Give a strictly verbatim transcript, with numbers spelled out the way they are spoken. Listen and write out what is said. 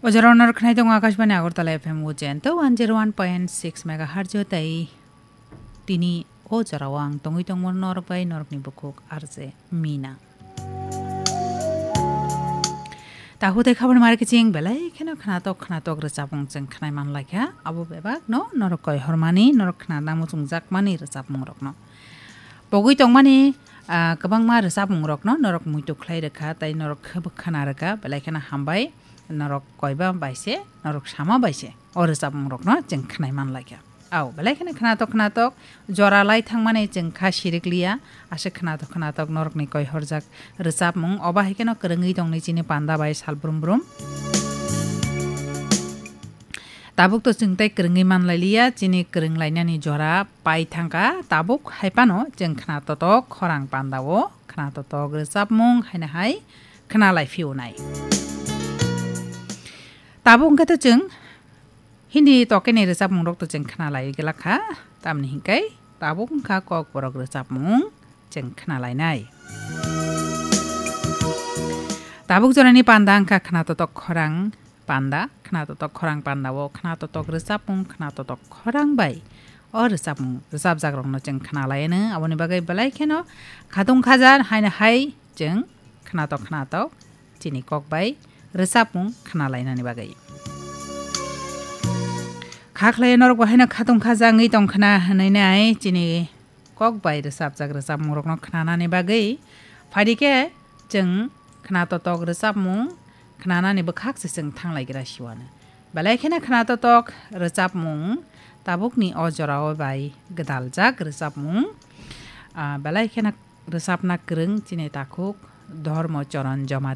O jora norok khnai tongo Akashbani Agartala F M Ujjain to one zero one point six megahertz o tei tini o jora o ang tongwi tongmo norok bai norokni bukhuk R J Mina. Tahu tei khabar mari kiching belai kheno khnatok khnatok rwchapmung chwng khnai man laikha. Abo bebak no norok koi hormani, norok khna namo chwng jakmani rwchapmung rokno. Pogwi tongmani, ah, kwbangma rwchapmung rokno norok muitu khlai rwkha tei norok khwb khna rwkha belai kheno hambai. Norok koiba bai se, norok sama bai se o rwchapmung rokno chwng khnai man laikha. Au, belai kheno khnatok khnatok jora lai thangmani chwng kha sirik liya, aswk khnatok khnatok norokni koi horjak rwchapmung, oba hai kheno kwrwngwi tongni chini panda bai sal brum brum. Tabuk to chwng tei kwrwngwi man lai liya, chini kwrwng lainani jora pai thangkha, tabuk hai phano chwng khna totok khorang panda o khna totok rwchapmung haino hai khna lai phio nai. Tabuk wngkha to chwng Hindi tokeni rwchapmung rok to chwng khna lai glak kha, tamni hinkai tabuk wngkha kokborok rwchapmung chwng khna lainai. Tabuk jorani panda wngkha khna totok khorang panda, khna totok khorang panda o khna totok rwchapmung khna totok khorang bai o rwchapmung rwchapjak rokno chwng khna lai anw, aboni bagwi belai kheno khatung khaja haino hai chwng khnatok khnatok chini kok bai rwchapmung khna lainani bagwi. Kha khlai norok bo haino khatung khaja wngwi tong khna hwnwi nai chini kok bai rwchapjak rwchapmung rokno khnanani bagwi. Phaidi khe chwng khna totok rwchapmung khnanani bwkhak se chwng thanglai gra siwano. Belai kheno khna totok rwchapmung tabukni o jorao bai gwdaljak rwchapmung, ah, belai kheno rwchapna kwrwng chini takhuk Dhormo Choron Joma